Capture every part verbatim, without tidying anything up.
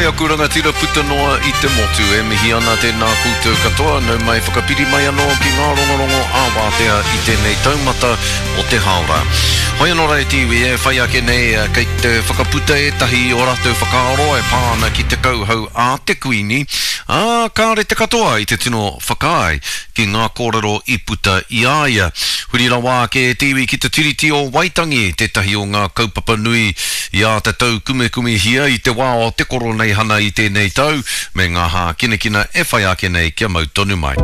aku rangatira puta noa i te motu e mihi ana tēnā koutou katoa, nau mai whakapiri mai anō ki ngā rongorongo ā-wātea i tēnei taumata o te hāora. Hoi anō rā e te iwi e whai ake nei kei te whakaputa ētahi i ō rātou whakaaro e pā ana ki te kauhau a te Kuini, ā, kāre te katoa i te tino whakaae ki ngā kōrero i puta i a ia. Huri rawa ake e te iwi ki te Tiriti o Waitangi, tētahi o ngā kaupapa nui i āta taukumekumehia i te wā o te Koroneihana i tēnei tau, me ngā hākinakina e whai ake nei kia mau tonu mai.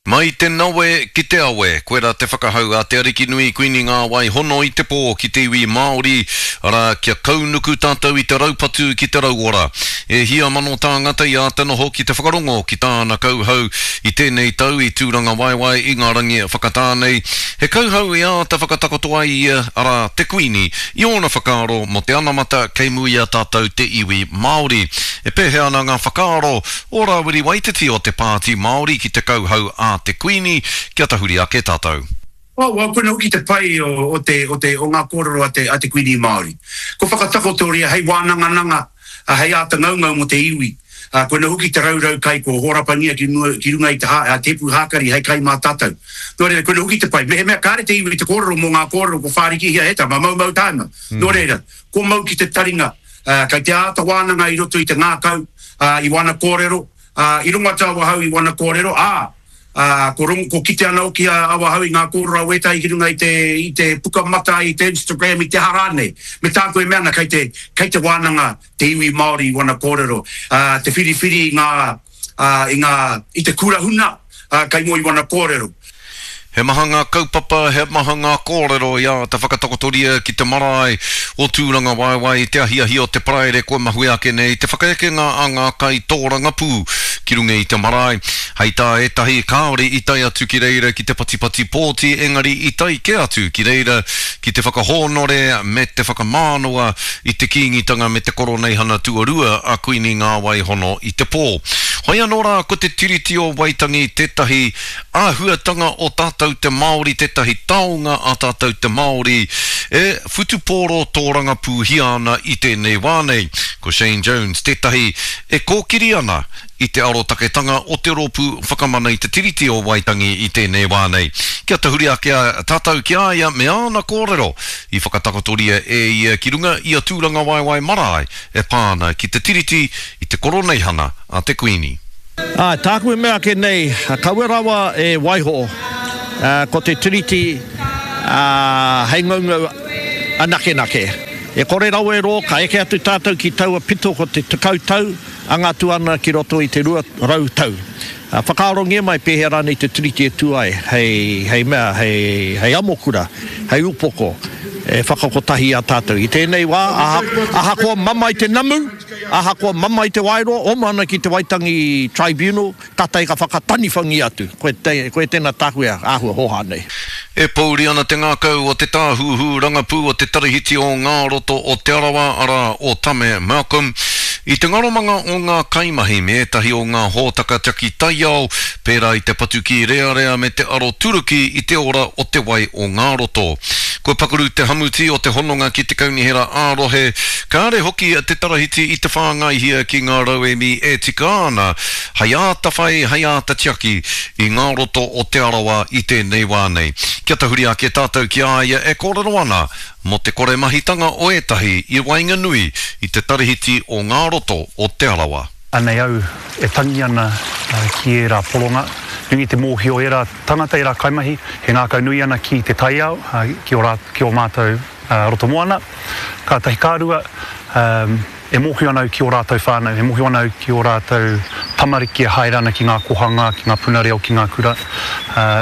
Mai te nawe ki te awe, koirā te whakahau a Te Arikinui Kuini Ngāwai Hono i te pō ki te iwi Māori, arā, kia kaunuku tātou i te raupatu ki te rauora. E hia mano tāngata i āta noho ki te whakarongo ki tāna kauhau i tēnei tau i Tūrangawaewae i ngā rangi whakatā nei. He kauhau i āta whakatakoto ai ia, arā, te Kuini, i ōna whakaaro mō te anamata kei mua i a tātou te iwi Māori. E pēhea ana ngā whakaaro o Rāwiri Waititi o te Pāti Māori ki te kauhau a te Kuini, kia tahuri ake tātou. Oh, well, koina hoki te pai o, o, te, o, te, o ngā kōrero a te, a te Kuini Māori. Ko whakatakotoria hei wānangananga, hei āta ngaungau mō te iwi. Koina hoki te raurau kai kua hōrapangia ki, mua, ki runga i te, hā, te hepu hākari hei kai mā tātou. Nō reira, koina hoki te pai. Mehemea kāre te iwi te kōrero mō ngā kōrero kua whārikihia e tama, maumau tāima. Mm. Nō reira, ko mau ki te taringa, uh, kei te āta wānanga i roto i te ngākau, uh, i wana kōrero, uh, i rongo atu awahau i wana kōrero, ā, uh, ko, rongo, ko kite ana hoki a awahau i ngā kōrero a wētahi ki runga i te, i te pukamata, i te Instagram, i te aha rānei. Me tāku e mea ana, kei te, kei te wānanga te iwi Māori i wana kōrero, uh, te whiriwhiri i ngā, uh, i ngā, i te kura huna, uh, kei mua i wana kōrero. He maha ngā kaupapa, he maha ngā kōrero i āta whakatakotoria ki te marae o Tūrangawaewae i te ahiahi o te Paraire kua mahue ake nei te whakaekenga a ngā kaitōrangapū ki runga i te marae. Hei tā ētahi, kāore i tae atu ki reira ki te patipati pōti engari i tae kē atu ki reira ki te whakahōnore me te whakamānawa i te Kīngitanga me te Koroneihana Tuarua a Kuini Ngāwai Hono i te pō. Hoi anō rā ko te Tiriti o Waitangi tētahi āhuatanga o tātou te Māori tētahi taonga a tātou te Māori e whutupōro tōrangapūhia ana i tēnei wā nei. Ko Shane Jones tētahi e kōkiri ana i te arotaketanga o te Rōpū Whakamana i te Tiriti o Waitangi i tēnei wā nei. Kia tahuri ake tātou ki a ia me āna kōrero i whakatakotoria e ia ki runga i a Tūrangawaewae Marae e pā ana ki te Tiriti i te Koroneihana a te Kuini. Āe, tāku e mea ake nei, kaua rawa e waiho ko te Tiriti hei ngaungau anakenake. E kore rawa e rō, ka eke atu tātou ki taua pito ko te tekau tau, anga atu ana ki roto i te rua rau tau. Whakaarongia mai pēhea rānei te Tiriti e tū ai hei, hei mea, hei, hei amokura, hei upoko e whakakotahi i a tātou. I tēnei wā, ahakoa mamae te namu, Ahakoa mamae te waeroa, oma ana ki te Waitangi Tribunal, kātahi ka whakataniwhangia atu. Koe, koe tēnā tāku e āhua hōhā nei. E pōuri ana te ngākau o te tāhuhu rangapū o te Tarahiti o Ngā Roto o Te Arawa, arā, o Tame Malcolm, i te ngaromanga o ngā kaimahi me ētahi o ngā hōtaka tiaki taiao, pērā i te patu kīrearea me te aroturuki i te ora o te wai o ngā roto. Kua pakaru te hamuti o te hononga ki te kaunihera ā-rohe, kāre hoki te tarahiti i te whāngaihia ki ngā rauemi e tika ana hei āta whai, hei āta tiaki i ngā roto o Te Arawa i tēnei wā nei. Kia tahuri ake tātou ki a ia e kōrero ana mō te kore mahitanga o ētahi i waenganui i te tarahiti o ngā roto o Te Arawa. Anei au e tangi ana ki ērā poronga, nui te mōhio ērā tangata, ērā kaimahi, he ngākau nui ana ki te taiao, ki ō rā, ki ō mātou roto moana. Kātahi ka rua, e mōhio ana au ki ō rātou whānau, e mōhio ana au ki ō rātou tamariki e haere ana ki ngā kohanga, ki ngā puna reo, ki ngā kura,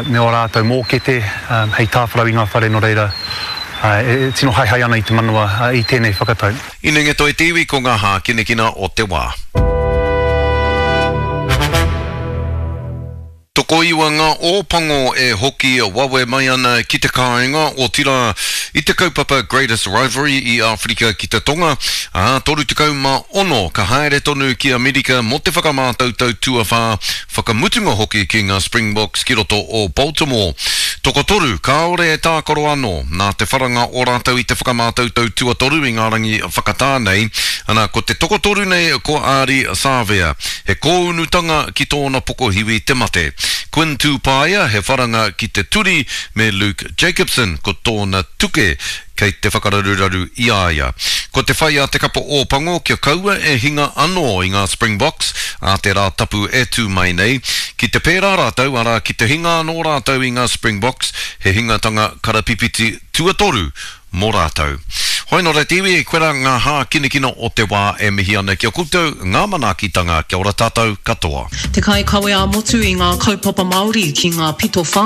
me ō rātou mōkete hei tāwharau i ngā whare, nō reira, e tino haehae ana i te manawa i tēnei whakatau. Inenge toi te iwi ko ngā hākinakina o te wā. Tokoiwa ngā Ōpango e hoki wawe mai ana ki te kāinga, otirā i te kaupapa Greatest Rivalry i Āwherika ki te Tonga, ā, toru tekau mā ono ka haere tonu ki Amerika mō te whakamātautau tuawhā whakamutunga hoki ki ngā Springboks ki roto o Baltimore. Tokotoru kāore e tākaro anō, nā te wharanga o rātou i te whakamātautau tuatoru i ngā rangi whakatā nei, ana, ko te tokotoru nei ko Ardie Savea, he kōunutanga ki tōna pokohiwi te mate. Quinn Tupaea, he wharanga ki te turi, me Luke Jacobson, ko tōna tuke kei te whakararuraru i a ia. Ko te whai a te kapa Ōpango kia kaua e hinga anō i ngā Springboks ā te Rā Tapu e tū mai nei. Ki te pērā rātou, arā, ki te hinga anō rātou i ngā Springboks, he hingatanga karapipiti tuatoru mō rātou. Hoi nō reira te iwi, koirā ngā hākinakina o te wā e mihi ana ki a koutou ngā manaakitanga, kia ora tātou katoa. Te kaikawe ā-motu i ngā kaupapa Māori ki ngā pito whānui.